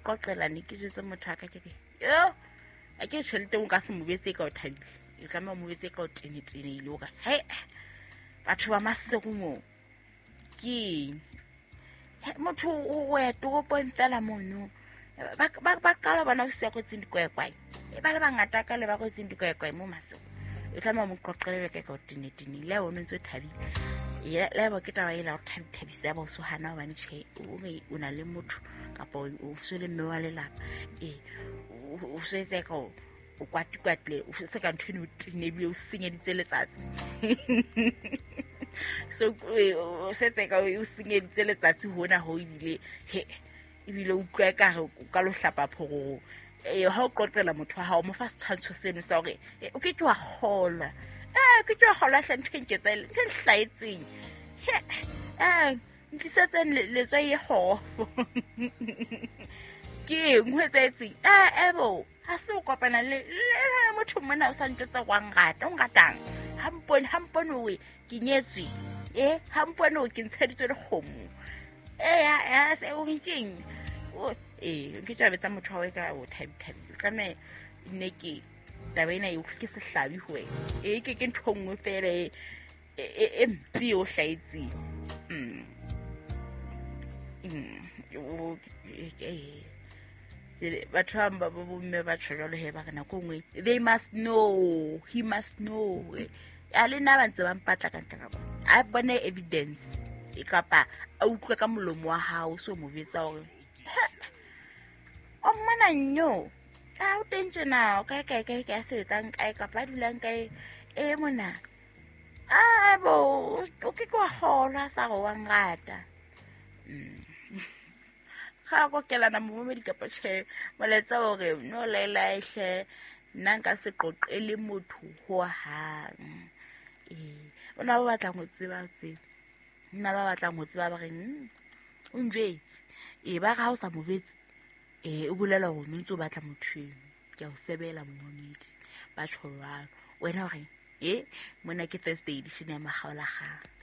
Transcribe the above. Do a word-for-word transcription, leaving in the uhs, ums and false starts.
qoqela ne ke jwetse motho wa ka ke re yo a ke tjhelete o ka se mo betse ka o thabile e tlameha o mo betse ka o tenetenehile o re he batho ba Maseru moo ke eng motho o ya toropong fela mono ba ba qala bona o sia kwetseng dikwaekwae e ba le bangata ka le ba kwetseng dikwaekwae mo Maseru e tlameha mo qoqele ka ka o tenetenehile o ntse o thabile le ba ke taba ela o thabisa ba o so hana hobane tjhe o re o na le motho kapa o so le mme wa lelapa e o so etsa ka o kwatikwatle o se ka ntho eno o tenebile o senyeditse letsatsi so o setse ka o senyeditse letsatsi hona ho ebile he ebile o utlwa ekare o ka lo hlapa phororo e ha o qoqela motho wa hao mo fa setshwantsho seno sa hore o ke ke wa kgolwa eh ke ke wa kgolwa hle ntho e nketsa ntho e nhlahetseng he eh ntlisetseng letswai le kgofo ke eng ho etsahetseng eh ebo ha se o kopana le le motho mona o sa ntjwetsa wa nrata o nratang ha mpone ha mpone o ke nyetswe eh ha mpone o ke ntsheditswe le kgomo eh ya se o nkeng eh ke tla betsa motho wa ka o thabi thabi tlameha nne ke taba ena e ke sehlabi ho wena e ke ke ntho nngwe fela e e mpe o hlaetseng mm mm batho ba ba bomme ba tjho jwalo he ba re nako nngwe they must know he must know a le nna ba ntse ba mpatla ka ntle ka bona a bone evidence e kapa a utlwe ka molomo wa hao so mo jwetsa hore o mmona nyo a o teng tjena o kae kae kae kae a sebetsang kae kapa a dulang kae e mona a bo o ke ke wa kgolwa sa re wa nrata ga go kelana momedi kapa tjhe molaetsa hore no laela hle nna nka se qoqele motho ho hang ee bona ba batlang ho tseba tseba nna ba batlang ho tseba ba reng o njwetse ee ba re ha o sa mo jwetse ee o bolela hore o ntse o batla motho eno ke a o sebela momedi ba tjho jwalo wena o reng e mona ke Thursday edition ya Makgaolakgang.